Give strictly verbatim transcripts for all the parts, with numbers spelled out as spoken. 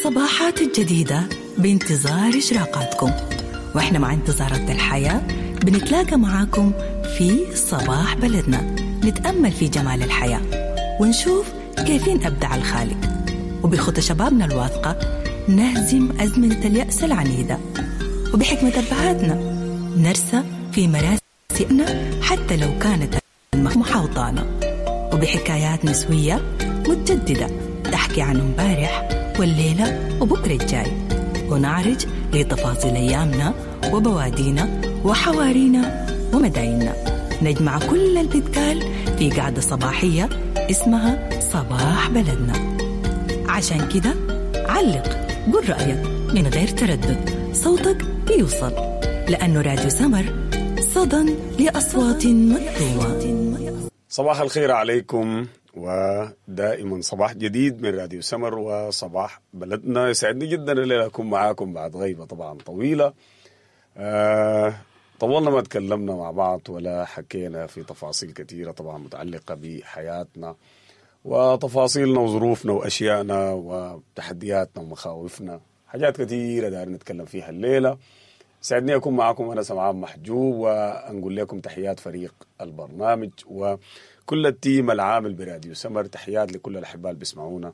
الصباحات الجديدة بانتظار إشراقاتكم، وإحنا مع انتظارات الحياة بنتلاقى معاكم في صباح بلدنا، نتأمل في جمال الحياة ونشوف كيفين أبدع الخالق، وبخطى شبابنا الواثقة نهزم أزمنة اليأس العنيدة، وبحكمة أبهاتنا نرسى في مراسئنا حتى لو كانت محاوطانا، وبحكايات نسوية متجددة تحكي عن امبارح والليلة وبكرة الجاي، ونعرج لتفاصيل أيامنا وبوادينا وحوارينا ومدايننا. نجمع كل البتقال في قعدة صباحية اسمها صباح بلدنا. عشان كده علق، قل رأيك من غير تردد، صوتك بيوصل، لأنه راديو سمر صدى لأصوات مكتومة. صباح الخير عليكم، ودائما صباح جديد من راديو سمر وصباح بلدنا. يسعدني جدا الليلة أكون معاكم بعد غيبة طبعا طويلة. آه طولنا ما تكلمنا مع بعض ولا حكينا في تفاصيل كثيرة طبعا متعلقة بحياتنا وتفاصيلنا وظروفنا وأشيائنا وتحدياتنا ومخاوفنا، حاجات كثيرة داير نتكلم فيها الليلة. سعدني أكون معكم أنا سمعان محجوب، ونقول لكم تحيات فريق البرنامج وكل ال team العامل براديو سمر. تحيات لكل الأحباء اللي بيسمعونا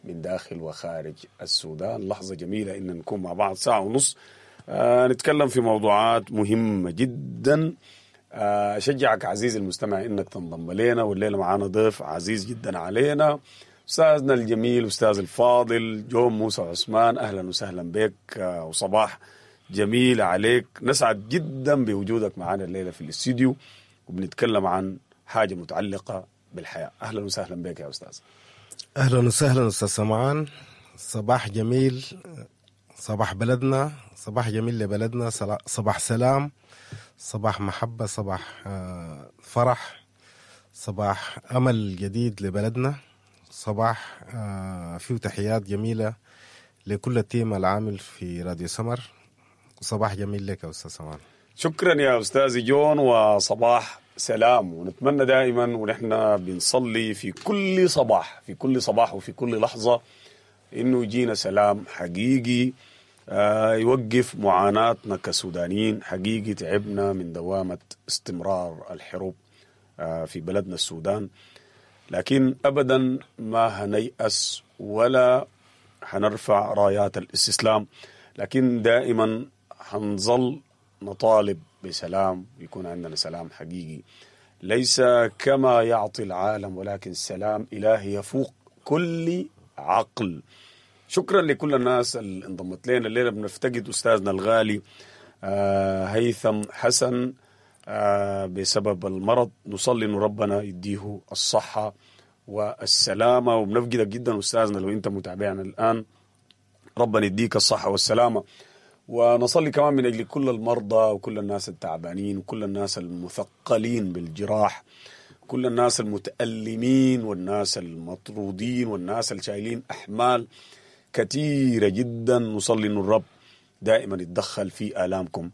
من داخل وخارج السودان. لحظة جميلة إن نكون مع بعض ساعة ونص آه نتكلم في موضوعات مهمة جدا. آه أشجعك عزيزي المستمع إنك تنضم لنا، والليلة معانا ضيف عزيز جدا علينا، أستاذنا الجميل أستاذ الفاضل جون موسى عثمان. أهلا وسهلا بك، آه وصباح جميل عليك. نسعد جدا بوجودك معنا الليلة في الاستديو، وبنتكلم عن حاجة متعلقة بالحياة. أهلا وسهلا بك يا أستاذ. أهلا وسهلا أستاذ سمعان، صباح جميل، صباح بلدنا، صباح جميل لبلدنا، صباح سلام، صباح محبة، صباح فرح، صباح أمل جديد لبلدنا، صباح فيه تحيات جميلة لكل ال team العامل في راديو سمر. صباح جميل لك يا أستاذ سمان. شكرا يا أستاذ جون، وصباح سلام. ونتمنى دائما ونحن بنصلي في كل صباح، في كل صباح وفي كل لحظة، إنه يجينا سلام حقيقي آه يوقف معاناتنا كسودانيين. حقيقي تعبنا من دوامة استمرار الحروب آه في بلدنا السودان، لكن أبدا ما هنيأس ولا هنرفع رايات الاستسلام، لكن دائما هنظل نطالب بسلام، يكون عندنا سلام حقيقي، ليس كما يعطي العالم، ولكن سلام إلهي يفوق كل عقل. شكرا لكل الناس اللي انضمت لنا الليلة. بنفتقد أستاذنا الغالي آه هيثم حسن آه بسبب المرض، نصلي إنه ربنا يديه الصحة والسلامة. وبنفقدك جدا أستاذنا لو أنت متابعنا الآن، ربنا يديك الصحة والسلامة. ونصلي كمان من أجل كل المرضى وكل الناس التعبانين وكل الناس المثقلين بالجراح، كل الناس المتألمين والناس المطرودين والناس الشايلين أحمال كثيرة جدا. نصلي أن الرب دائما يتدخل في آلامكم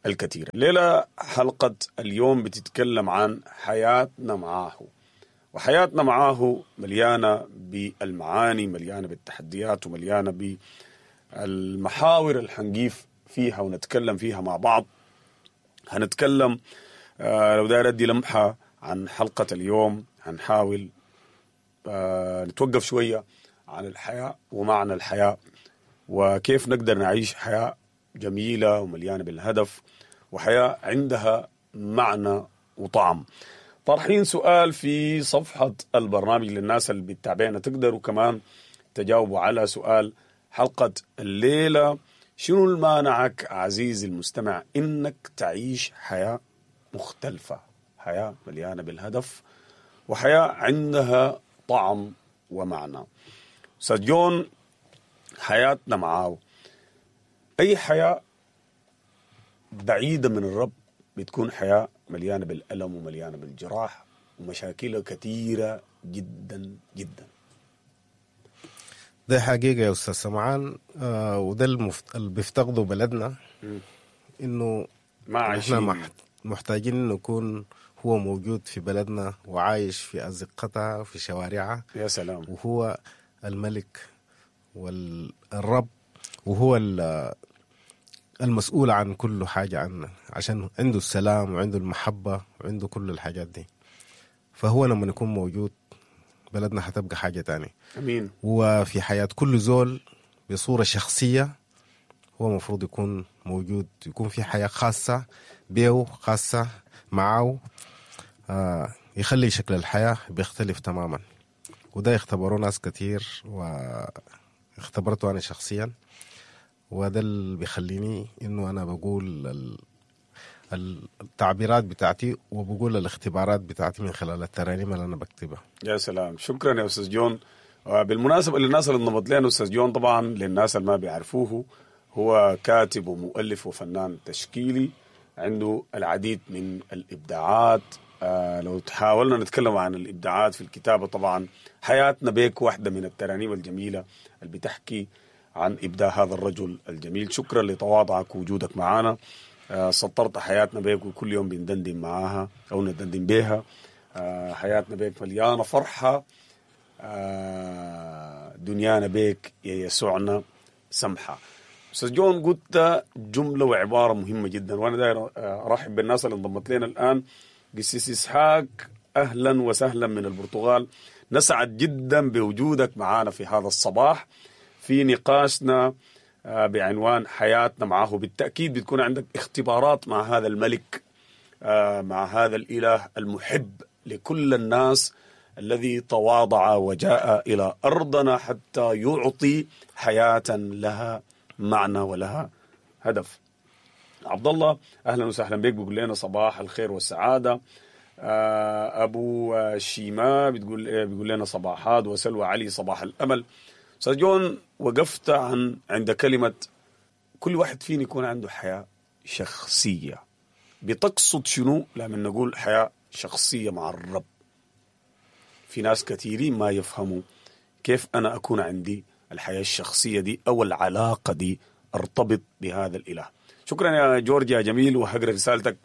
الكثيرة. الليلة حلقة اليوم بتتكلم عن حياتنا معاه، وحياتنا معاه مليانة بالمعاني، مليانة بالتحديات، ومليانة بالمحاور اللي حنقيف فيها ونتكلم فيها مع بعض. هنتكلم آه لو داير أدي لمحة عن حلقة اليوم، هنحاول آه نتوقف شوية عن الحياة ومعنى الحياة، وكيف نقدر نعيش حياة جميلة ومليانة بالهدف، وحياة عندها معنى وطعم. طرحين سؤال في صفحة البرنامج للناس اللي بتتابعنا، تقدروا كمان تجاوبوا على سؤال حلقة الليلة: شنو المانعك عزيزي المستمع إنك تعيش حياة مختلفة، حياة مليانة بالهدف، وحياة عندها طعم ومعنى؟ أستاذ جون، حياتنا معاه، أي حياة بعيدة من الرب بتكون حياة مليانة بالألم ومليانة بالجراح ومشاكل كثيرة جدا جدا. ده حقيقة يا أستاذ سمعان، آه وده المفت... اللي بيفتقده بلدنا، إنه ما عايشين، إحنا محتاجين إنه يكون هو موجود في بلدنا وعايش في أزقتها وفي شوارعها. يا سلام. وهو الملك والرب، وهو المسؤول عن كل حاجة عنا، عشان عنده السلام وعنده المحبة وعنده كل الحاجات دي. فهو لما يكون موجود بلدنا حتبقى حاجة تانية. أمين. وفي حياة كل زول بصورة شخصية هو مفروض يكون موجود، يكون في حياة خاصة بيه، خاصة معه، آه يخلي شكل الحياة بيختلف تماما. وده يختبروه ناس كتير واختبرته أنا شخصيا، وده اللي بيخليني إنه أنا بقول التعبيرات بتاعتي وبقول الاختبارات بتاعتي من خلال الترانيم اللي أنا بكتبها. يا سلام، شكرا يا أستاذ جون. بالمناسبة للناس اللي انضمت لنا، أستاذ جون طبعا للناس اللي ما بيعرفوه هو كاتب ومؤلف وفنان تشكيلي، عنده العديد من الإبداعات. آه لو تحاولنا نتكلم عن الإبداعات في الكتابة، طبعا حياتنا بيك واحدة من الترانيم الجميلة اللي بتحكي عن إبداع هذا الرجل الجميل. شكرا لتواضعك ووجودك معنا. آه سطرت حياتنا بيك وكل يوم بندندن معاها أو ندندن بيها. آه حياتنا بيك مليانة فرحة، آه دنيانا بيك يا يسوعنا سمحة. أستاذ جون، قلت جملة وعبارة مهمة جدا، وأنا داير أرحب بالناس اللي انضمت لنا الآن. قسيس إسحاق، أهلا وسهلا من البرتغال، نسعد جدا بوجودك معنا في هذا الصباح في نقاشنا بعنوان حياتنا معه. بالتأكيد بتكون عندك اختبارات مع هذا الملك، مع هذا الإله المحب لكل الناس الذي تواضع وجاء إلى أرضنا حتى يعطي حياة لها معنى ولها هدف. عبد الله، أهلا وسهلا بك، بيقول لنا صباح الخير والسعادة. أبو شيماء بتقول بيقول لنا صباحات، وسلوى علي صباح الأمل. أستاذ جون، وقفت عن عند كلمة كل واحد فينا يكون عنده حياة شخصية. بتقصد شنو لما نقول حياة شخصية مع الرب؟ في ناس كثيرين ما يفهموا كيف أنا أكون عندي الحياة الشخصية دي أو العلاقة دي، أرتبط بهذا الإله. شكرا يا جورج يا جميل، وهقرأ رسالتك،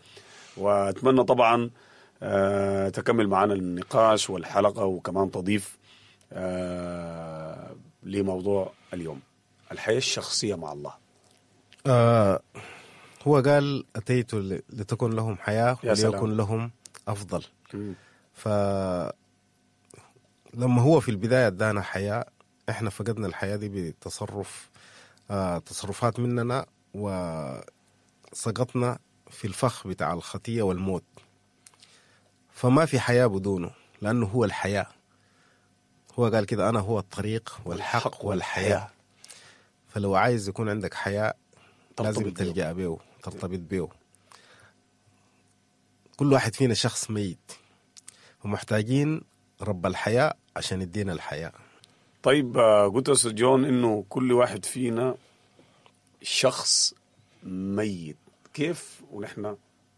وأتمنى طبعا أه تكمل معنا النقاش والحلقة، وكمان تضيف أه لموضوع اليوم، الحياة الشخصية مع الله. آه هو قال أتيت لتكن لهم حياة وليكن لهم أفضل. فلما هو في البداية ادانا حياة، احنا فقدنا الحياة دي بتصرف آه تصرفات مننا، وسقطنا في الفخ بتاع الخطية والموت. فما في حياة بدونه، لأنه هو الحياة. هو قال كده، أنا هو الطريق والحق والحياة. فلو عايز يكون عندك حياة لازم تلجأ بيه، ترتبط بيه. كل واحد فينا شخص ميت، ومحتاجين رب الحياة عشان يدينا الحياة. طيب، قلت يا أستاذ جون إنه كل واحد فينا شخص ميت، كيف ونحن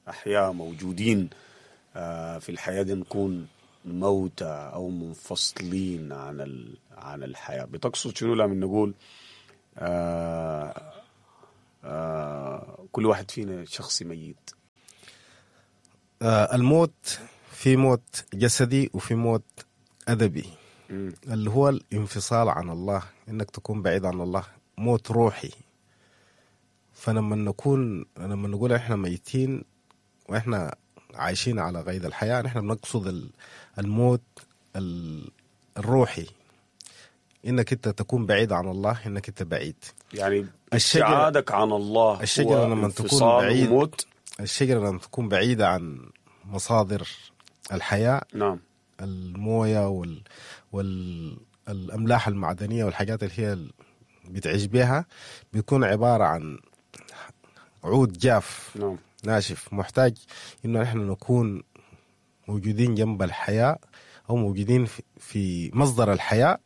أحياء موجودين في الحياة دي نكون موتى أو منفصلين عن عن الحياة؟ بتقصد شنو لما نقول آه آه كل واحد فينا شخص ميت؟ آه الموت، في موت جسدي وفي موت أدبي، م. اللي هو الانفصال عن الله، إنك تكون بعيد عن الله، موت روحي. فلما نكون لما نقول إحنا ميتين وإحنا عايشين على قيد الحياة، نحن بنقصد الموت الروحي، إنك أنت تكون بعيد عن الله، إنك أنت بعيد. يعني ابتعادك عن الله، الشجرة لما تكون بعيد، وموت. الشجرة لما تكون بعيدة عن مصادر الحياة، نعم، الموية وال والأملاح المعدنية والحاجات اللي هي بتعيش بها، بيكون عبارة عن عود جاف، نعم، ناشف، محتاج إنه نحن نكون موجودين جنب الحياة أو موجودين في مصدر الحياة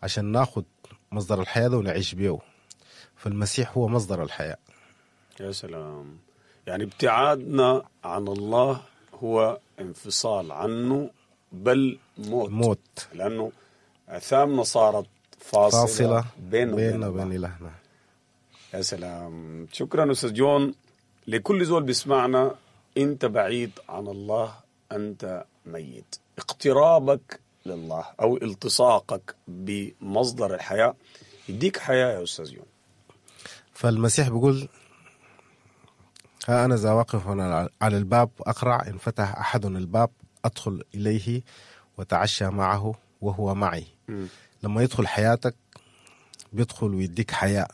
عشان ناخد مصدر الحياة ده ونعيش بيه. فالمسيح هو مصدر الحياة. يا سلام. يعني ابتعادنا عن الله هو انفصال عنه، بل موت, موت. لأنه أثامنا صارت فاصلة, فاصلة بيننا وبين وبين إلهنا. يا سلام. شكرا أستاذ جون. لكل زول بيسمعنا، أنت بعيد عن الله، أنت ميت. اقترابك لله أو التصاقك بمصدر الحياة يديك حياة يا أستاذ جون. فالمسيح بيقول ها أنا ذا واقف على الباب أقرع، إن فتح أحد الباب أدخل إليه وتعشى معه وهو معي. م. لما يدخل حياتك بيدخل ويديك حياة،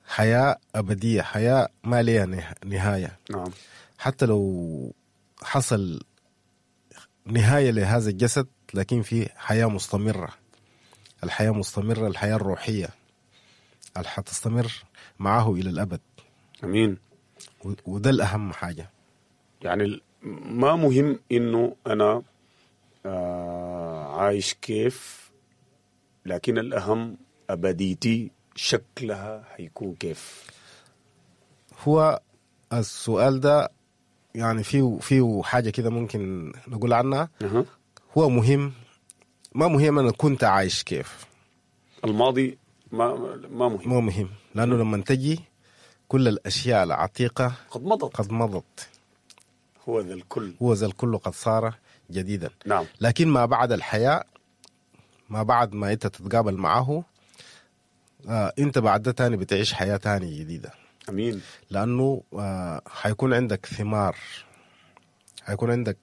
حياة أبدية، حياة ما لها نهاية. نعم. حتى لو حصل نهاية لهذا الجسد لكن في حياة مستمرة، الحياة مستمرة، الحياة الروحية اللي حتستمر معه إلى الأبد. أمين. وده الأهم حاجة. يعني ما مهم إنه أنا آه عايش كيف، لكن الأهم أبديتي شكلها هيكون كيف. هو السؤال ده يعني فيه فيه حاجة كده ممكن نقول عنها. أه. هو مهم، ما مهم أنا كنت عايش كيف، الماضي ما ما مهم، ما مهم، لأنه لما تجي كل الأشياء العتيقة قد مضت، قد مضت، هو ذا الكل، هو ذا الكل قد صار جديدا. نعم. لكن ما بعد الحياة، ما بعد ما أنت تتقابل معه، آه أنت بعد ده تاني بتعيش حياة تاني جديدة. أمين. لأنه آه حيكون عندك ثمار، حيكون عندك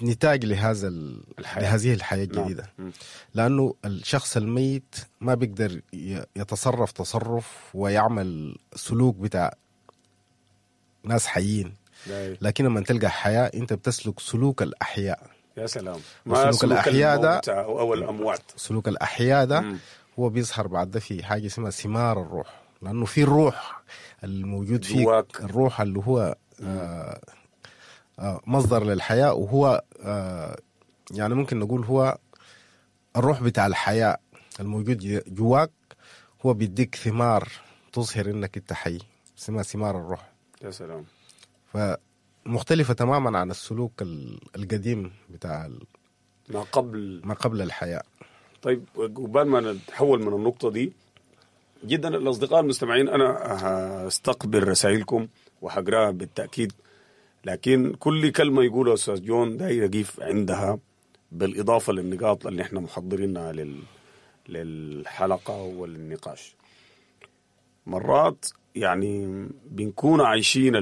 نتاج لهذا الحياة. لهذه الحياة الجديدة. نعم. لأنه الشخص الميت ما بيقدر يتصرف تصرف ويعمل سلوك بتاع ناس حيين. لكن لما تلقى حياة أنت بتسلك سلوك الأحياء. يا سلام. ما سلوك الأحياء ده أو الأموات. سلوك الأحياء ده مم. هو بيظهر بعد ده في حاجة اسمها ثمار الروح، لأنه في الروح الموجود فيك، الروح اللي هو آه آه مصدر للحياة، وهو آه يعني ممكن نقول هو الروح بتاع الحياة الموجود جواك، هو بيديك ثمار تظهر إنك أنت حي، اسمها ثمار الروح. يا سلام. فمختلفة تماما عن السلوك القديم بتاع ما قبل ما قبل الحياة. طيب، قبل ما نتحول من النقطة دي جدا، الأصدقاء المستمعين أنا هستقبل رسائلكم وحقراها بالتأكيد، لكن كل كلمة يقولها أستاذ جون داير أقف عندها، بالإضافة للنقاط اللي احنا محضرينها لل... للحلقة والنقاش. مرات يعني بنكون عايشين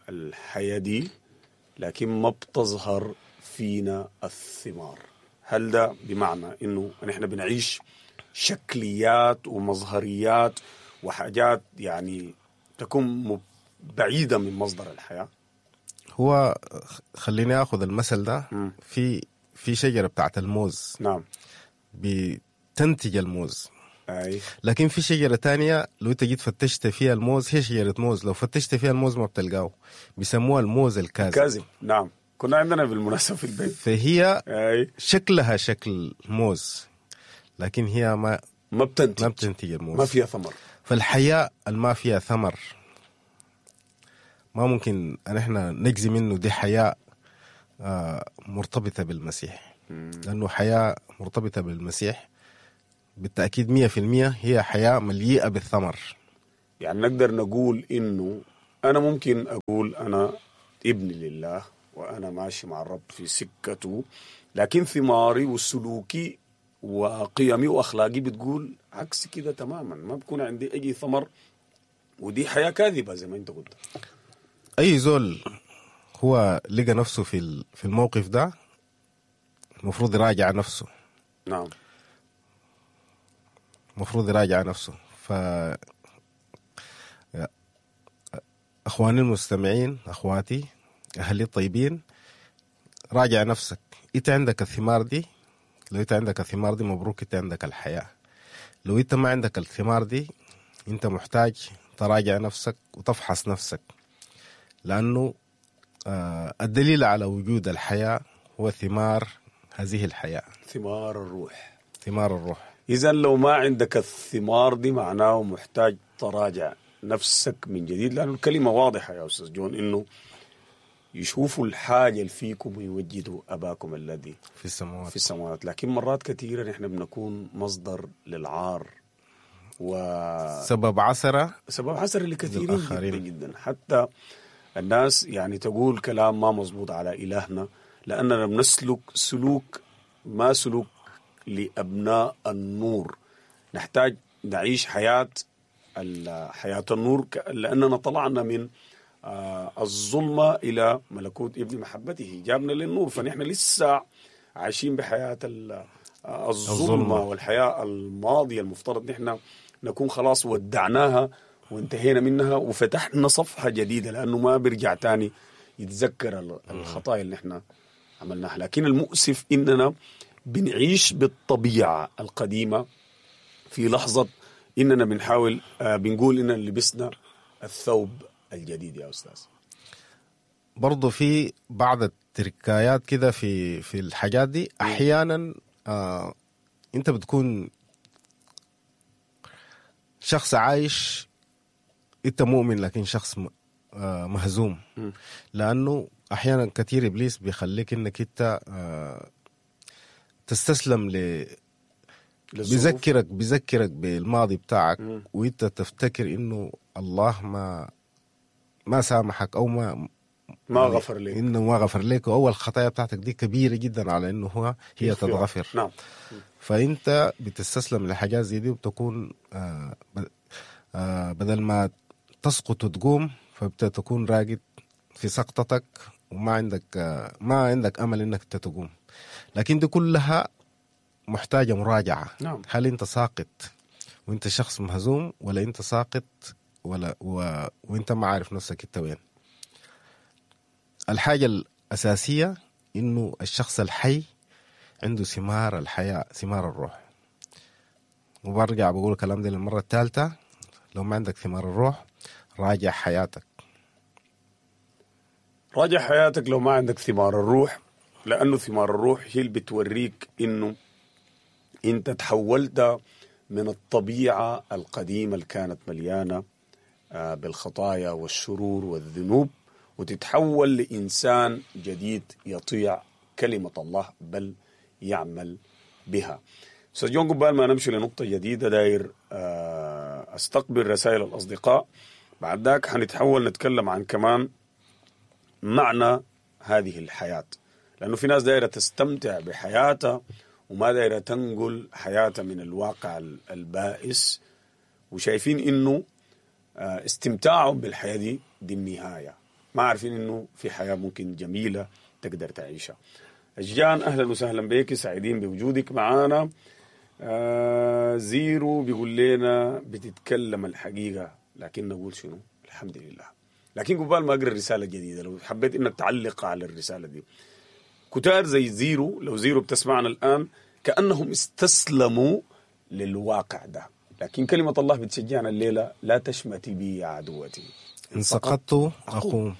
الحياة دي لكن ما بتظهر فينا الثمار. هل ده بمعنى إنه نحن بنعيش شكليات ومظهريات وحاجات يعني تكون بعيدة من مصدر الحياة؟ هو خليني أخذ المثل ده. م. في في شجرة بتاعت الموز. نعم. بتنتج الموز. أي. لكن في شجرة تانية لو انت جيت فتشت فيها الموز، هي شجرة موز، لو فتشت فيها الموز ما بتلقاه، بيسموها الموز الكاذب. كاذب. نعم، كنا عندنا بالمناسبة في البيت. فهي أي. شكلها شكل موز، لكن هي ما ما بتنتج، ما بتنتج الموز، ما فيها ثمر. فالحياة ما فيها ثمر ما ممكن ان احنا نجزي منه دي حياة مرتبطة بالمسيح. مم. لأنه حياة مرتبطة بالمسيح بالتأكيد مية في المية هي حياة مليئة بالثمر. يعني نقدر نقول إنه أنا ممكن أقول أنا ابن لله وأنا ماشي مع الرب في سكته، لكن ثماري وسلوكي وقيمي وأخلاقي بتقول عكس كده تماما، ما بكون عندي أي ثمر، ودي حياة كاذبة زي ما أنت قلت. أي زول هو لقى نفسه في في الموقف ده المفروض يراجع نفسه. نعم، المفروض يراجع نفسه. ف أخواني المستمعين، أخواتي، أهلي الطيبين، راجع نفسك. إنت عندك الثمار دي؟ لو إنت عندك الثمار دي مبروك، إنت عندك الحياة. لو إنت ما عندك الثمار دي، إنت محتاج تراجع نفسك وتفحص نفسك، لأنه الدليل على وجود الحياة هو ثمار هذه الحياة، ثمار الروح. ثمار الروح. إذا لو ما عندك الثمار دي معناه محتاج تراجع نفسك من جديد، لأن الكلمة واضحة يا أستاذ جون، إنه يشوفوا الحاجة اللي فيكم ويوجدوا أباكم الذي في السماوات. في السماوات. لكن مرات كثيرة نحن بنكون مصدر للعار وسبب عسرة، سبب عسرة لكثيرين جدا جدا. حتى الناس يعني تقول كلام ما مزبوط على إلهنا، لأننا بنسلك سلوك ما سلوك لأبناء النور. نحتاج نعيش حياة حياة النور، لأننا طلعنا من الظلمة إلى ملكوت ابن محبته، جابنا للنور. فنحن لسه عايشين بحياة الظلمة والحياة الماضية، المفترض نحن نكون خلاص ودعناها وانتهينا منها وفتحنا صفحة جديدة، لأنه ما بيرجع تاني يتذكر الخطايا اللي نحن عملناها. لكن المؤسف إننا بنعيش بالطبيعة القديمة في لحظة إننا بنحاول بنقول إننا لبسنا الثوب الجديد. يا أستاذ برضو في بعض التركايات كده في في الحاجات دي أحيانا آه أنت بتكون شخص عايش، أنت مؤمن لكن شخص آه مهزوم، لأنه أحيانا كثير إبليس بيخليك إنك أنت آه تستسلم ل بيذكرك بيذكرك بالماضي بتاعك، وانت تفتكر انه الله ما ما سامحك او ما ما غفر لك، انه ما غفر لك، واول الخطايا بتاعتك دي كبيرة جدا على انه هو هي تتغفر. نعم. فانت بتستسلم لحاجات زي دي، وبتكون آه آه بدل ما تسقط وتقوم فبتكون راقد في سقطتك، وما عندك آه ما عندك امل انك تقوم. لكن دي كلها محتاجة مراجعة. نعم. هل أنت ساقط وأنت شخص مهزوم، ولا أنت ساقط ولا و... وأنت ما عارف نفسك أنت وين؟ الحاجة الأساسية إنه الشخص الحي عنده ثمار الحياة، ثمار الروح. وبرجع بقول الكلام ده للمرة الثالثة، لو ما عندك ثمار الروح راجع حياتك. راجع حياتك لو ما عندك ثمار الروح، لأنه ثمار الروح هي اللي بتوريك إنه أنت تحولت من الطبيعة القديمة اللي كانت مليانة بالخطايا والشرور والذنوب، وتتحول لإنسان جديد يطيع كلمة الله بل يعمل بها. أستاذ جون، قبل ما نمشي لنقطة جديدة داير أستقبل رسائل الأصدقاء، بعد ذاك حنتحول نتكلم عن كمان معنى هذه الحياة، لأنه في ناس دايرة تستمتع بحياتها وما دايرة تنقل حياتها من الواقع البائس، وشايفين إنه استمتاعهم بالحياة دي دي النهاية، ما عارفين إنه في حياة ممكن جميلة تقدر تعيشها. أشجان، أهلا وسهلا بك، سعيدين بوجودك معانا. آه زيرو بيقول لنا بتتكلم الحقيقة، لكن نقول شنو؟ الحمد لله. لكن قبل ما أقرأ الرسالة الجديدة، لو حبيت إنك تعلق على الرسالة دي، كتار زي زيرو، لو زيرو بتسمعنا الآن، كأنهم استسلموا للواقع ده، لكن كلمة الله بتشجعنا الليلة: لا تشمتي بي يا عدوتي، إن سقطت أقوم،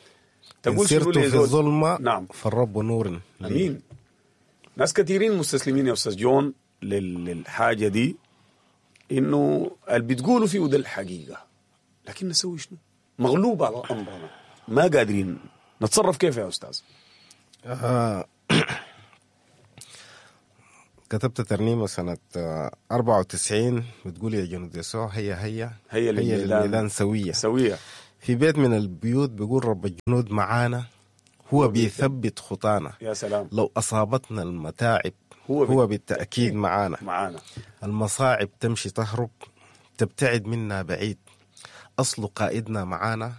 إن سرت في الظلمة نعم. فالرب نور. أمين. ناس كثيرين مستسلمين يا أستاذ جون للحاجة دي، إنه اللي بتقولوا فيه ده الحقيقة، لكن نسوي شنو؟ مغلوب على أمرنا، ما قادرين نتصرف. كيف يا أستاذ؟ آه كتبت ترنيمة سنة أربعة وتسعين بتقول: يا جنود يسوع هيا هيا هيا للميدان سوية سوية. في بيت من البيوت بيقول رب الجنود معانا، هو بيثبت خطانا. يا سلام. لو أصابتنا المتاعب هو, هو بالتأكيد معانا معانا. المصاعب تمشي تهرب تبتعد منا بعيد، أصل قائدنا معانا،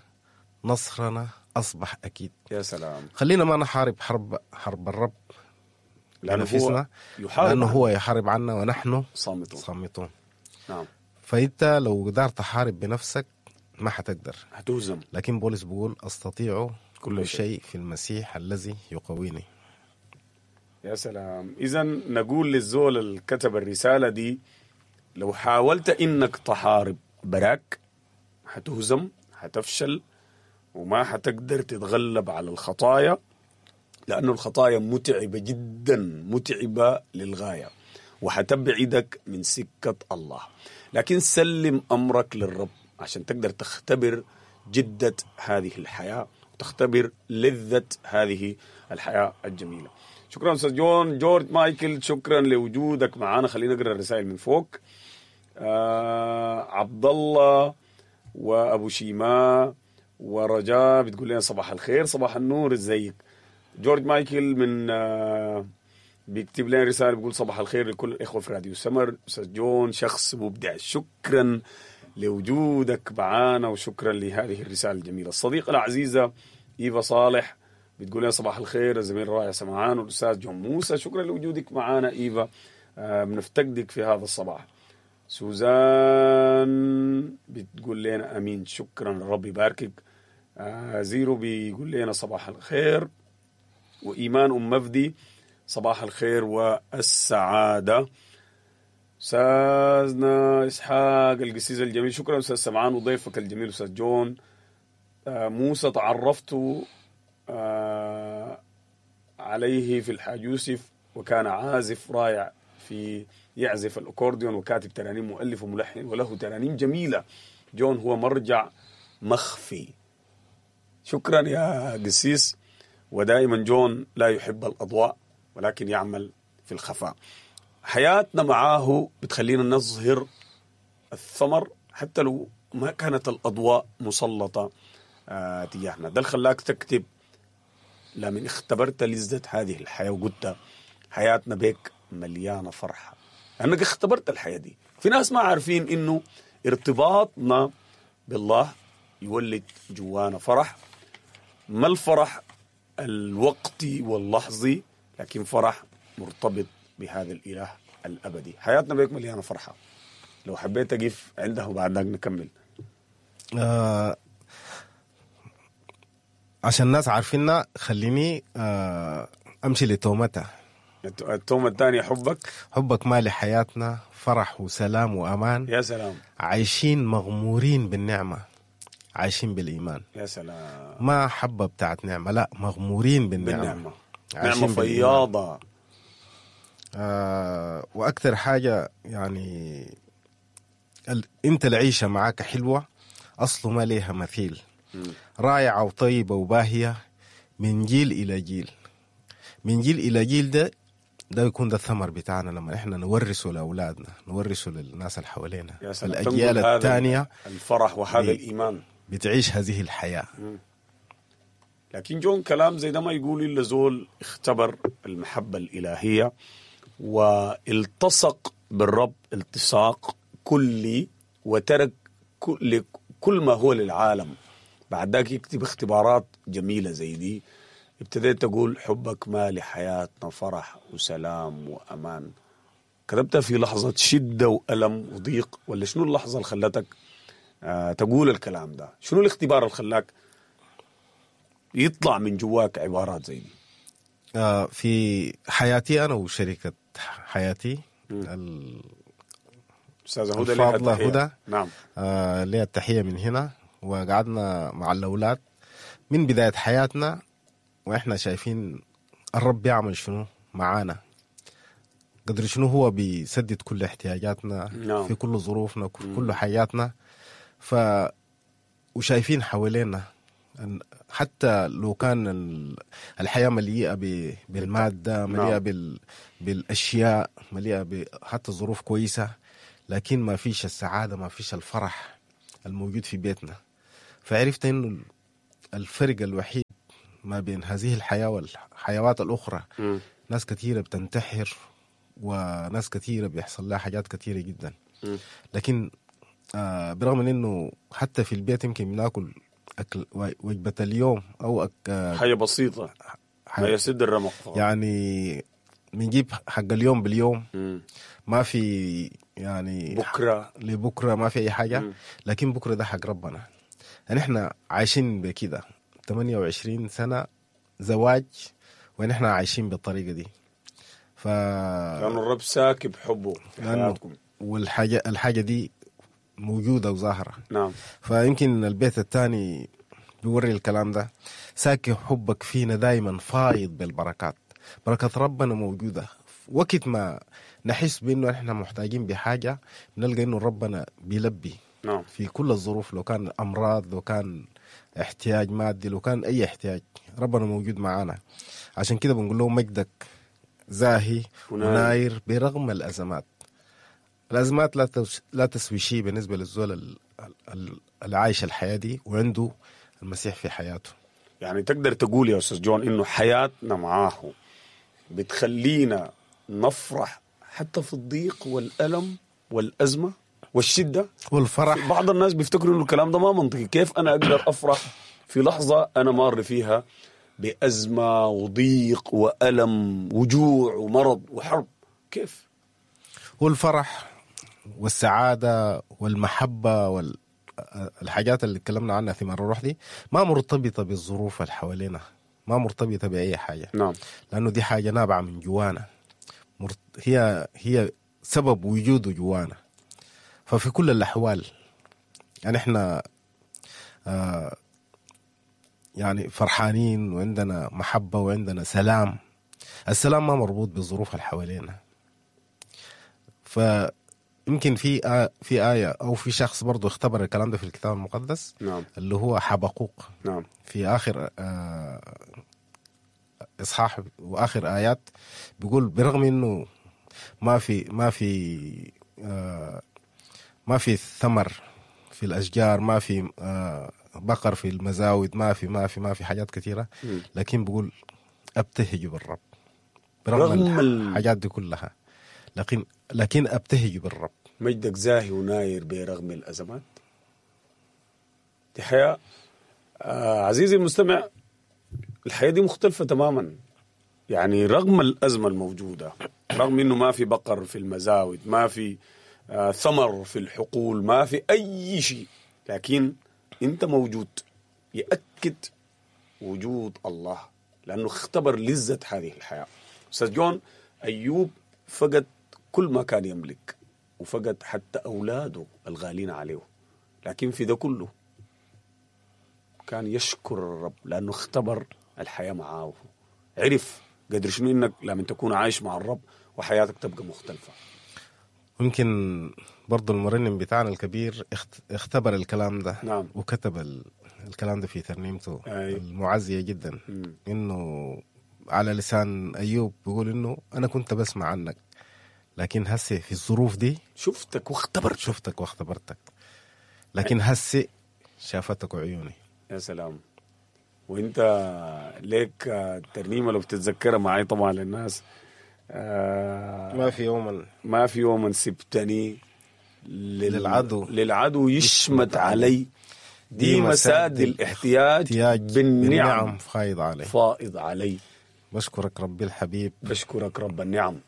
نصرنا أصبح أكيد. يا سلام. خلينا ما نحارب حرب حرب الرب لأنه هو يحارب، لأنه هو يحارب عنا ونحن صامتون صامتون. نعم. فأنت لو قدرت تحارب بنفسك ما حتقدر، هتهزم. لكن بولس بيقول أستطيع كل شيء في المسيح الذي يقويني. يا سلام. إذا نقول للزول اللي كتب الرسالة دي: لو حاولت إنك تحارب براك هتهزم، هتفشل، وما حتقدر تتغلب على الخطايا، لأنه الخطايا متعبة جدا، متعبة للغاية، وحتبعدك من سكة الله. لكن سلم أمرك للرب عشان تقدر تختبر جدة هذه الحياة وتختبر لذة هذه الحياة الجميلة. شكرا أستاذ جون. جورج مايكل، شكرا لوجودك معنا. خلينا نقرأ الرسائل من فوق. آه عبد الله وأبو شيماء ورجاء بتقول لنا صباح الخير، صباح النور، ازيك؟ جورج مايكل من آه بيكتب لنا رسالة بيقول صباح الخير لكل الاخوة في راديو سمر، استاذ جون شخص مبدع، شكرا لوجودك معانا وشكرا لهذه الرسالة الجميلة. الصديقة العزيزة ايفا صالح بتقول لنا صباح الخير الزميل الرائع سمعان والاستاذ جون موسى، شكرا لوجودك معانا ايفا، آه بنفتقدك في هذا الصباح. سوزان بتقول لنا امين، شكرا ربي يباركك. آه زيرو بيقول لنا صباح الخير. وايمان ام مفدي صباح الخير والسعادة. استاذنا اسحاق القسيس الجميل، شكرا استاذ سمعان وضيفك الجميل استاذ جون. آه موسى تعرفت آه عليه في الحاج يوسف، وكان عازف رائع في يعزف الأكورديون وكاتب ترانيم، مؤلف وملحن، وله ترانيم جميلة. جون هو مرجع مخفي. شكرا يا قسيس. ودائما جون لا يحب الأضواء ولكن يعمل في الخفاء. حياتنا معاه بتخلينا نظهر الثمر حتى لو ما كانت الأضواء مسلطة آه تجاهنا. ده اللي خلاك تكتب لمن اختبرت لذة هذه الحياة وقلت حياتنا بك مليانة فرحة، لأنك اختبرت الحياة دي. في ناس ما عارفين إنه ارتباطنا بالله يولد جوانا فرح، ما الفرح الوقتي واللحظي، لكن فرح مرتبط بهذا الإله الأبدي. حياتنا بك مليانة فرحة. لو حبيت أقف عندها وبعد ذلك نكمل. آه عشان الناس عارفيننا خليني آه أمشي لتومتها. التومة الثانية حبك. حبك مالي حياتنا فرح وسلام وأمان. يا سلام. عايشين مغمورين بالنعمة، عايشين بالإيمان. يا سلام. ما حبة بتاعت نعمة، لا، مغمورين بالنعمة. بالنعمة. نعمة فياضة. آه وأكثر حاجة يعني ال... أنت العيشة معاك حلوة، أصله ما ليها مثيل، رائعة وطيبة وباهية من جيل إلى جيل، من جيل إلى جيل. ده ده يكون ده الثمر بتاعنا لما إحنا نورثه لأولادنا، نورثه للناس اللي حوالينا، الأجيال الثانية الفرح وهذا بي... الإيمان بتعيش هذه الحياة. م. لكن جون كلام زي ده ما يقول إلا زول اختبر المحبة الإلهية والتصق بالرب التصاق كلي وترك كل, كل ما هو للعالم. بعد ذاك يكتب اختبارات جميلة زي دي. ابتديت تقول حبك ما لحياتنا فرح وسلام وأمان. كتبتها في لحظة شدة وألم وضيق، ولا شنو اللحظة اللي خلتك آه تقول الكلام ده؟ شنو الاختبار اللي خلاك يطلع من جواك عبارات زي دي؟ آه في حياتي أنا وشريكة حياتي الأستاذة هدى، الفاضلة هدى. نعم. آه ليها التحية من هنا. وقعدنا مع الأولاد من بداية حياتنا وإحنا شايفين الرب يعمل شنو معانا، قدر شنو هو بيسدد كل احتياجاتنا. نعم. في كل ظروفنا، كل, كل حياتنا. ف وشايفين حوالينا حتى لو كان الحياة مليئة بالمادة، مليئة بال... بالأشياء، مليئة ب... حتى الظروف كويسة، لكن ما فيش السعادة، ما فيش الفرح الموجود في بيتنا. فعرفت إنه الفرق الوحيد ما بين هذه الحياة والحيوات الأخرى، م. ناس كثيرة بتنتحر وناس كثيرة بيحصل لها حاجات كثيرة جدا. م. لكن آه برغم من إنه حتى في البيت يمكن بناكل أكل وجبة اليوم أو أك... حاجة بسيطة حاجة ما يسد الرمق فقط. يعني بنجيب حق اليوم باليوم، م. ما في يعني بكرة لبكرة ما في أي حاجة. م. لكن بكرة ده حق ربنا. يعني إحنا عايشين بكده ثمانية وعشرين سنة زواج ونحن عايشين بالطريقة دي. ف لأنه الرب ساكب حبه في حياتكم، والحاجة الحاجة دي موجودة وظاهرة. نعم. فيمكن البيت الثاني بيوري الكلام ده، ساكب حبك فينا دايما فايض بالبركات. بركة ربنا موجودة. وقت ما نحس بأنه إحنا محتاجين بحاجة بنلقى إنه ربنا بيلبي. نعم. في كل الظروف، لو كان أمراض، لو كان احتياج مادي، لو كان أي احتياج، ربنا موجود معانا. عشان كده بنقول له مجدك زاهي وناير برغم الأزمات. الأزمات لا لا تسوي شيء بالنسبة للزول العايش الحياة دي وعنده المسيح في حياته. يعني تقدر تقول يا أستاذ جون إنه حياتنا معاه بتخلينا نفرح حتى في الضيق والألم والأزمة والشدة والفرح. بعض الناس بيفتكروا إنه الكلام ده ما منطقي، كيف أنا أقدر أفرح في لحظة أنا مار فيها بأزمة وضيق وألم وجوع ومرض وحرب؟ كيف؟ والفرح والسعادة والمحبة والحاجات اللي تكلمنا عنها في مرة الروح دي ما مرتبطة بالظروف اللي حوالينا، ما مرتبطة بأي حاجة. نعم. لأنه دي حاجة نابعة من جوانا، هي هي سبب وجوده جوانا. ففي كل الأحوال يعني احنا آه يعني فرحانين وعندنا محبة وعندنا سلام. السلام ما مربوط بالظروف اللي حوالينا. فيمكن في آه في آية أو في شخص برضو اختبر الكلام ده في الكتاب المقدس. نعم. اللي هو حبقوق. نعم. في آخر آه إصحاح وآخر آيات بيقول برغم إنه ما في ما في آه ما في ثمر في الأشجار، ما في آه بقر في المزاود، ما في ما في ما في حاجات كثيرة، لكن بيقول أبتهج بالرب برغم رغم الحاجات دي كلها، لكن لكن أبتهج بالرب. مجدك زاهي وناير برغم الأزمات. دي حياة آه عزيزي المستمع، الحياة دي مختلفة تماما. يعني رغم الأزمة الموجودة، رغم إنه ما في بقر في المزاود، ما في آه ثمر في الحقول، ما في أي شيء، لكن أنت موجود. يأكد وجود الله لأنه اختبر لذة هذه الحياة. أستاذ جون، أيوب فقد كل ما كان يملك وفقد حتى أولاده الغالين عليه، لكن في ده كله كان يشكر الرب لأنه اختبر الحياة معاه، عرف قدر شنو إنك لما تكون عايش مع الرب وحياتك تبقى مختلفة. ممكن برضو المرنم بتاعنا الكبير اختبر الكلام ده. نعم. وكتب الكلام ده في ترنيمته أي. المعزية جدا. مم. إنه على لسان أيوب بيقول إنه أنا كنت بسمع عنك، لكن هسه في الظروف دي شفتك واختبرتك، شفتك واختبرتك، لكن هسه شافتك عيوني. يا سلام. وانت ليك الترنيمة لو بتتذكرها معي طبعا للناس، آه ما في يوما ما في يوما سبتني لل... للعدو للعدو يشمت علي، دي مساد الاحتياج بالنعم, بالنعم فائض علي، فائض علي. بشكرك ربي الحبيب، بشكرك رب النعم،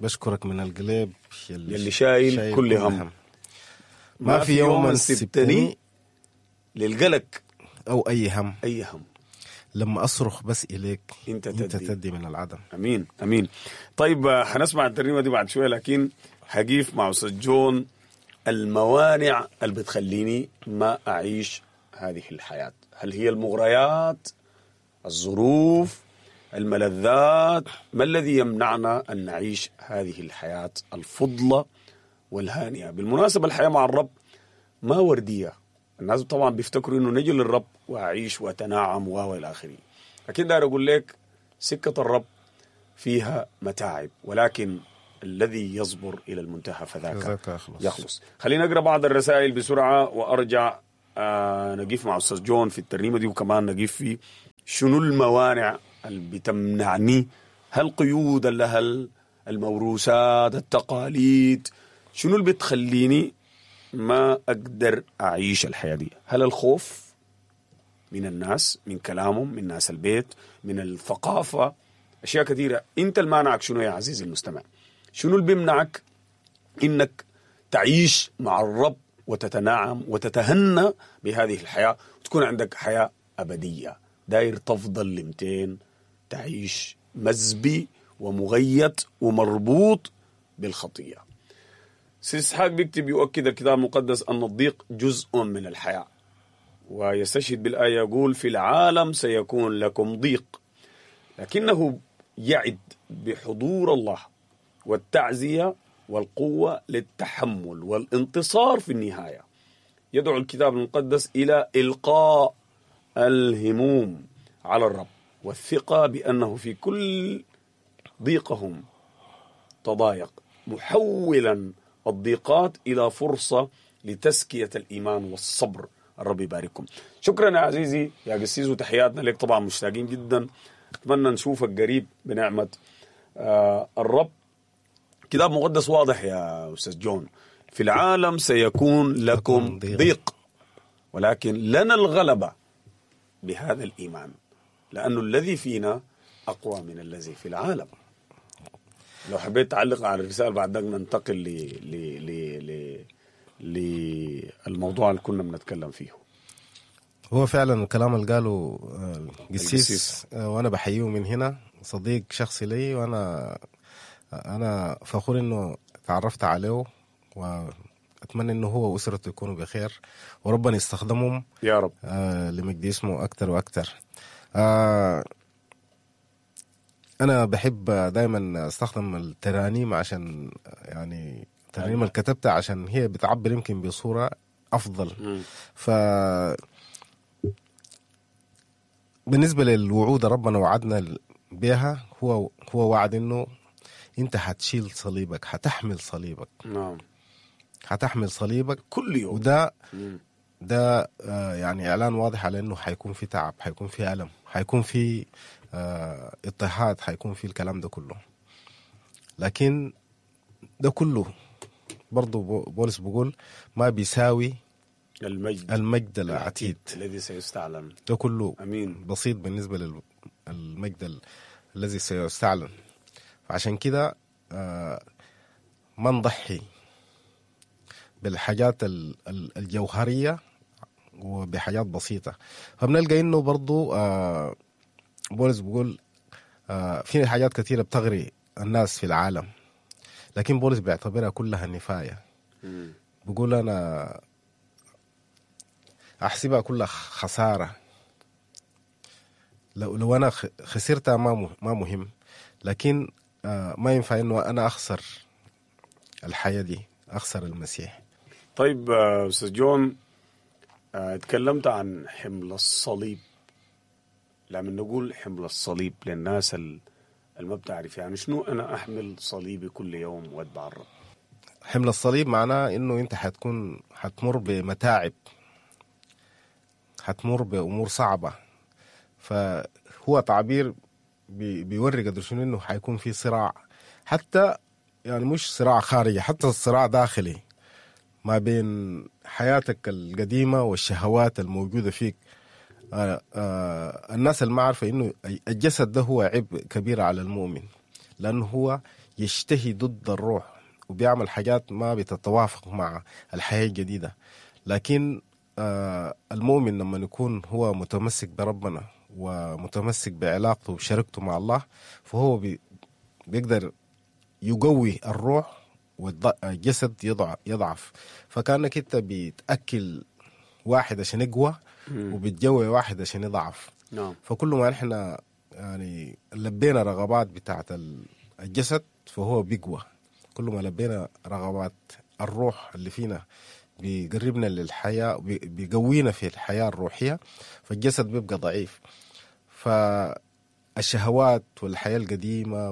بشكرك من القلب يلي, يلي شايل, شايل كل هم, هم. ما في يوما سبتني للقلق أو أي هم، أي هم، لما أصرخ بس إليك أنت تدي, أنت تدي من العدم. أمين أمين. طيب حنسمع الترنيمة دي بعد شوية، لكن هقيف مع أستاذ جون الموانع اللي بتخليني ما أعيش هذه الحياة. هل هي المغريات، الظروف، الملذات؟ ما الذي يمنعنا أن نعيش هذه الحياة الفضلة والهانئة؟ بالمناسبة الحياة مع الرب ما وردية. الناس طبعا بيفتكروا انه نجي للرب واعيش واتناعم و الى اخره، لكن داير اقول لك سكه الرب فيها متاعب، ولكن الذي يصبر الى المنتهى فذاك يخلص. يخلص. خلينا نقرا بعض الرسائل بسرعه وارجع آه نقيف مع استاذ جون في الترنيمه دي، وكمان نقيف في شنو الموانع اللي بتمنعني، هل قيود هل الموروثات، التقاليد، شنو اللي بتخليني ما أقدر أعيش الحياة دي؟ هل الخوف من الناس، من كلامهم، من ناس البيت، من الثقافة، أشياء كثيرة. أنت المانعك شنو يا عزيزي المستمع؟ شنو اللي بيمنعك إنك تعيش مع الرب وتتناعم وتتهنى بهذه الحياة وتكون عندك حياة أبدية؟ داير تفضل لمتين تعيش مزبي ومغيط ومربوط بالخطية. سيسحاق بيكتب يؤكد الكتاب المقدس أن الضيق جزء من الحياة، ويستشهد بالآية يقول في العالم سيكون لكم ضيق، لكنه يعد بحضور الله والتعزية والقوة للتحمل والانتصار في النهاية. يدعو الكتاب المقدس إلى إلقاء الهموم على الرب والثقة بأنه في كل ضيقهم تضايق، محولا الضيقات إلى فرصة لتزكية الإيمان والصبر. الرب يبارككم. شكرا يا عزيزي يا قسيس، وتحياتنا لك. طبعا مشتاقين جدا، أتمنى نشوفك قريب بنعمة آه الرب كتاب مقدس واضح يا أستاذ جون، في العالم سيكون لكم ضيق، ولكن لنا الغلبة بهذا الإيمان، لأنه الذي فينا أقوى من الذي في العالم. لو حبيت تعلق على الرسالة بعد ذلك ننتقل ل ل ل ل للموضوع اللي كنا بنتكلم فيه. هو فعلا الكلام اللي قاله القسيس، وأنا بحييه من هنا، صديق شخصي لي، وأنا أنا فخور إنه تعرفت عليه، وأتمنى إنه هو وأسرته يكونوا بخير وربنا يستخدمهم يا رب آه لمجد اسمه أكتر وأكتر. آه أنا بحب دايما أستخدم الترانيم، عشان يعني الترانيم اللي كتبتها عشان هي بتعبر يمكن بصورة أفضل. ف بالنسبة للوعود ربنا وعدنا بها، هو هو وعد إنه أنت هتشيل صليبك، هتحمل صليبك. نعم، هتحمل صليبك كل يوم. وده ده آه يعني إعلان واضح على إنه حيكون في تعب، حيكون في ألم، حيكون في آه اضطهاد، حيكون في الكلام ده كله. لكن ده كله برضو بولس بيقول ما بيساوي المجد, المجد العتيد الذي سيستعلن. ده كله أمين. بسيط بالنسبة للمجد الذي سيستعلن. فعشان كده آه ما نضحي بالحاجات الجوهرية وبحاجات بسيطة. فبنلقى إنه برضو آه بولس بيقول آه في حاجات كثيرة بتغري الناس في العالم، لكن بولس بيعتبرها كلها نفاية. بيقول أنا أحسبها كلها خسارة، لو لو أنا خسرتها ما ما مهم، لكن آه ما ينفع إنه أنا أخسر الحياة دي، أخسر المسيح. طيب أستاذ جون، اتكلمت عن حمل الصليب. لما نقول حمل الصليب للناس اللي ما بتعرف يعني شنو أنا أحمل صليبي كل يوم وأتبع الرب؟ حمل الصليب معناه إنه أنت حتكون حتمر بمتاعب، حتمر بأمور صعبة. فهو تعبير بي بيوري قدر شنو إنه حيكون في صراع، حتى يعني مش صراع خارجي، حتى الصراع داخلي ما بين حياتك القديمة والشهوات الموجودة فيك. آه آه الناس اللي ما عارفة إنه الجسد ده هو عبء كبير على المؤمن، لأنه هو يشتهي ضد الروح وبيعمل حاجات ما بتتوافق مع الحياة الجديدة. لكن آه المؤمن لما يكون هو متمسك بربنا ومتمسك بعلاقته وشركته مع الله، فهو بي بيقدر يقوي الروح والجسد يضعف. فكأنك انت بتأكل واحد عشان يقوى وبتجوي واحد عشان يضعف. نعم. فكل ما احنا يعني لبينا رغبات بتاعت الجسد فهو بيقوى، كل ما لبينا رغبات الروح اللي فينا بيقربنا للحياة، بيقوينا في الحياة الروحية، فالجسد بيبقى ضعيف. فالشهوات والحياة القديمة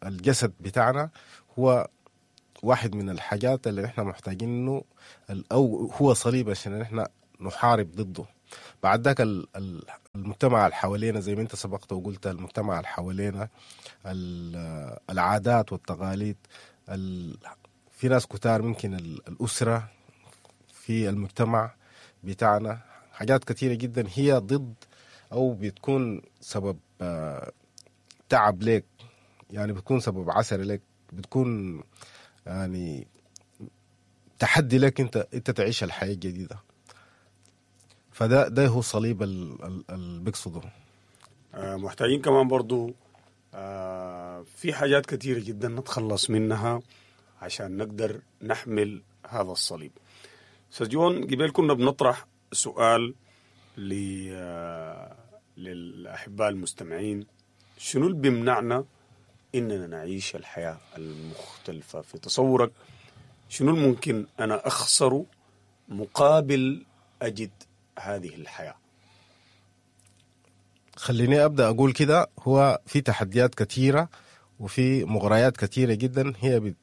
والجسد بتاعنا هو واحد من الحاجات اللي احنا محتاجين انه او هو صليب عشان احنا نحارب ضده. بعد ذاك المجتمع اللي حوالينا زي ما انت سبقت وقلت، المجتمع اللي حوالينا، العادات والتقاليد، في ناس كتار ممكن الأسرة في المجتمع بتاعنا، حاجات كثيرة جدا هي ضد أو بتكون سبب تعب لك، يعني بتكون سبب عسر لك، بتكون يعني تحدي لك انت انت تعيش الحياة الجديدة. فده ده هو صليب اللي بيقصده. محتاجين كمان برضو في حاجات كثيرة جدا نتخلص منها عشان نقدر نحمل هذا الصليب. أستاذ جون، قبل كنا بنطرح سؤال للأحباء المستمعين، شنو اللي بيمنعنا إننا نعيش الحياة المختلفة؟ في تصورك شنو الممكن أنا أخسره مقابل أجد هذه الحياة؟ خليني أبدأ أقول كده، هو في تحديات كثيرة وفي مغريات كثيرة جدا هي بت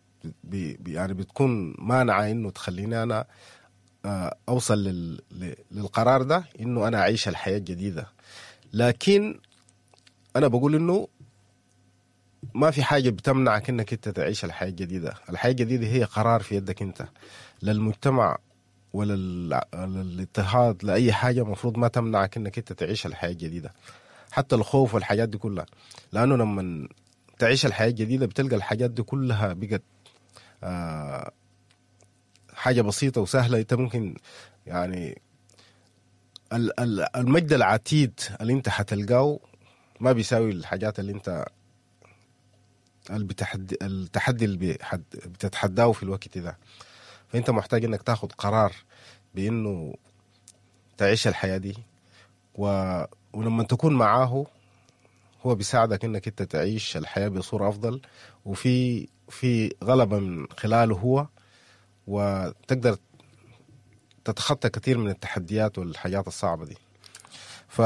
بي يعني بتكون مانعة إنه تخليني أنا أوصل لل للقرار ده إنه أنا أعيش الحياة الجديدة. لكن أنا بقول إنه ما في حاجة بتمنعك انك انت تعيش الحياة الجديدة. الحياة الجديدة هي قرار في يدك انت، للمجتمع ولا الاضطهاد لأي حاجة مفروض ما تمنعك انك انت تعيش الحياة الجديدة، حتى الخوف والحاجات دي كلها. لأنه لما تعيش الحياة الجديدة بتلقى الحاجات دي كلها بقت آه حاجة بسيطة وسهلة. انت ممكن يعني المجد العتيد اللي انت حتلقاه ما بيساوي الحاجات اللي انت البتحدي التحدي اللي بتتحداه في الوقت ده. فانت محتاج انك تاخد قرار بانه تعيش الحياة دي، و... ولما تكون معاه هو بيساعدك انك انت تعيش الحياة بصورة افضل، وفي في غلبة من خلاله هو، وتقدر تتخطى كثير من التحديات والحاجات الصعبة دي. ف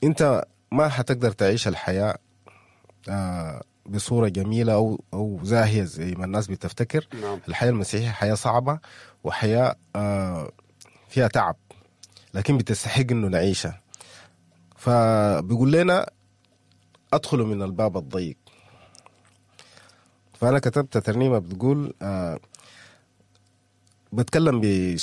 انت ما حتقدر تعيش الحياة بصورة جميلة أو أو زاهية زي ما الناس بتفتكر. نعم. الحياة المسيحية حياة صعبة وحياة فيها تعب، لكن بتستحق إنه نعيشها. فبيقول لنا أدخلوا من الباب الضيق. فأنا كتبت ترنيمة بتقول بتكلم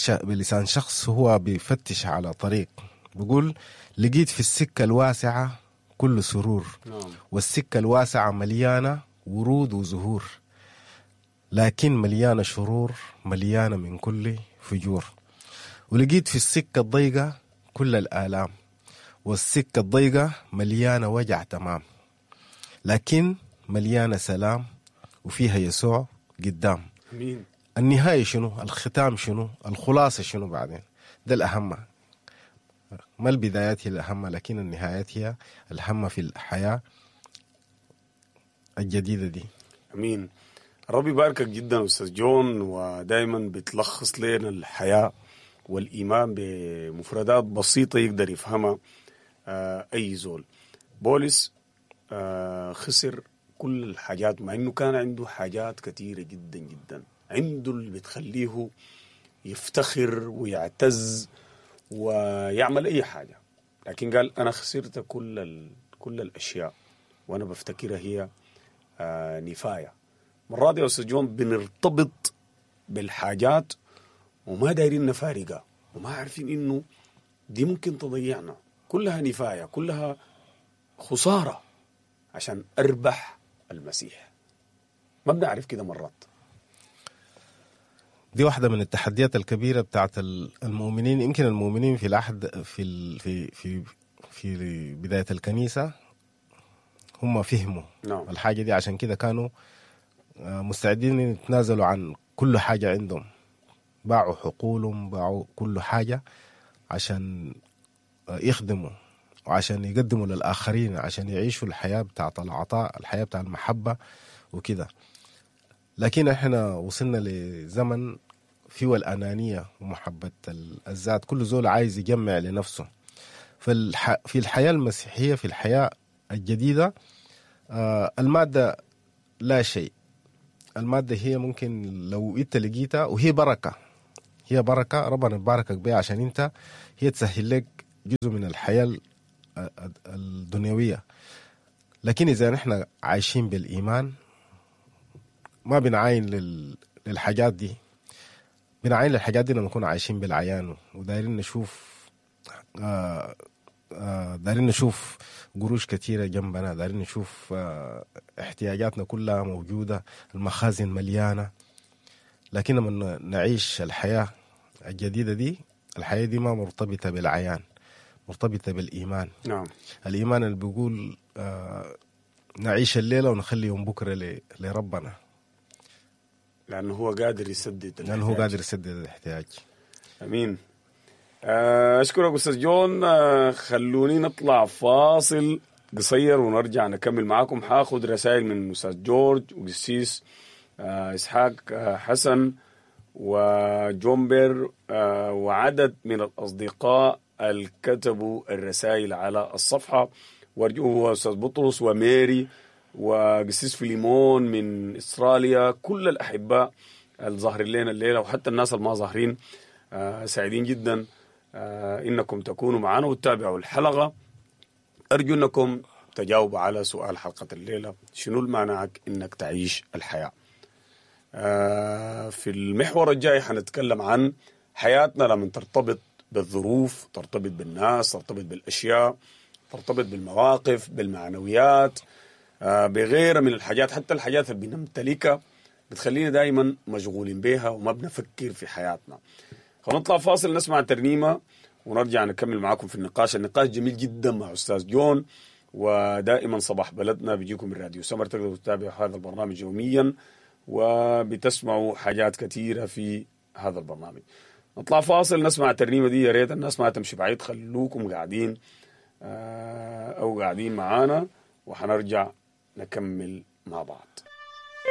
بلسان شخص هو بيفتش على طريق، بيقول لقيت في السكة الواسعة كل سرور، نعم. والسكة الواسعة مليانة ورود وزهور، لكن مليانة شرور، مليانة من كل فجور. ولقيت في السكة الضيقة كل الآلام، والسكة الضيقة مليانة وجع تمام، لكن مليانة سلام وفيها يسوع قدام. أمين. النهاية شنو؟ الختام شنو؟ الخلاصة شنو بعدين؟ ده الأهم. ما البدايات هي الأهم، لكن النهايات هي الأهم في الحياة الجديدة دي. أمين. ربي يباركك جدا أستاذ جون، ودايما بتلخص لنا الحياة والإيمان بمفردات بسيطة يقدر يفهمها أي زول. بولس خسر كل الحاجات، مع أنه كان عنده حاجات كثيرة جدا جدا، عنده اللي بتخليه يفتخر ويعتز ويعمل أي حاجة، لكن قال أنا خسرت كل ال... كل الأشياء وأنا بفتكرها هي آه نفاية. مرات يا أستاذ جون بنرتبط بالحاجات وما دايرين نفارقها، وما عارفين إنه دي ممكن تضيعنا، كلها نفاية، كلها خسارة عشان أربح المسيح. ما بنعرف كده مرات. دي واحدة من التحديات الكبيرة بتاعت المؤمنين. يمكن المؤمنين في العهد في في في في بداية الكنيسة هم فهموا نعم. الحاجة دي، عشان كده كانوا مستعدين يتنازلوا عن كل حاجة عندهم، باعوا حقولهم، باعوا كل حاجة عشان يخدموا وعشان يقدموا للآخرين، عشان يعيشوا الحياة بتاعت العطاء، الحياة بتاع المحبة وكده. لكن احنا وصلنا لزمن فيه الأنانية ومحبة الذات، كل زول عايز يجمع لنفسه. فالح... في الحياة المسيحية، في الحياة الجديدة، آه المادة لا شيء. المادة هي ممكن لو انت لقيتها، وهي بركة، هي بركة ربنا يباركك بها عشان انت هي تسهل لك جزء من الحياة الدنيوية. لكن إذا نحن عايشين بالإيمان ما بنعاين لل... للحاجات دي، بنعاين للحاجات دي لما نكون عايشين بالعيان ودايرين نشوف آه آه دايرين نشوف قروش كثيرة جنبنا، دايرين نشوف آه احتياجاتنا كلها موجودة، المخازن مليانة. لكن لما نعيش الحياة الجديدة دي، الحياة دي ما مرتبطة بالعيان، مرتبطة بالإيمان. نعم. الإيمان اللي بيقول آه نعيش الليلة ونخلي يوم بكرة ل... لربنا، لأنه هو قادر يسدد الاحتياج. لأنه هو قادر يسدد الاحتياج. أمين. أشكرك أستاذ جون. خلوني نطلع فاصل قصير ونرجع نكمل معاكم. حاخد رسائل من أستاذ جورج وقسيس إسحاق حسن وجومبر وعدد من الأصدقاء اللي كتبوا الرسائل على الصفحة، وارجوه أستاذ بطرس وميري وقسيس فيليمون من إستراليا، كل الأحباء الظاهرين لنا الليلة وحتى الناس الما ظاهرين، سعيدين جدا إنكم تكونوا معنا وتتابعوا الحلقة. أرجو أنكم تجاوبوا على سؤال حلقة الليلة، شنو المانعك انك تعيش الحياة؟ آه في المحور الجاي حنتكلم عن حياتنا لما ترتبط بالظروف، ترتبط بالناس، ترتبط بالاشياء، ترتبط بالمواقف، بالمعنويات، آه بغيرها من الحاجات، حتى الحاجات اللي بنمتلكها بتخلينا دائما مشغولين بيها وما بنفكر في حياتنا. خلينا نطلع فاصل نسمع ترنيمة ونرجع نكمل معاكم في النقاش. النقاش جميل جدا مع أستاذ جون، ودائما صباح بلدنا بيجيكم من راديو سمر. تقدروا تتابعوا هذا البرنامج يوميا وبتسمعوا حاجات كثيرة في هذا البرنامج. نطلع فاصل نسمع الترنيمة دي، يا ريت الناس ما تمشي بعيد، خلوكم قاعدين آه، أو قاعدين معانا، وحنرجع نكمل مع بعض.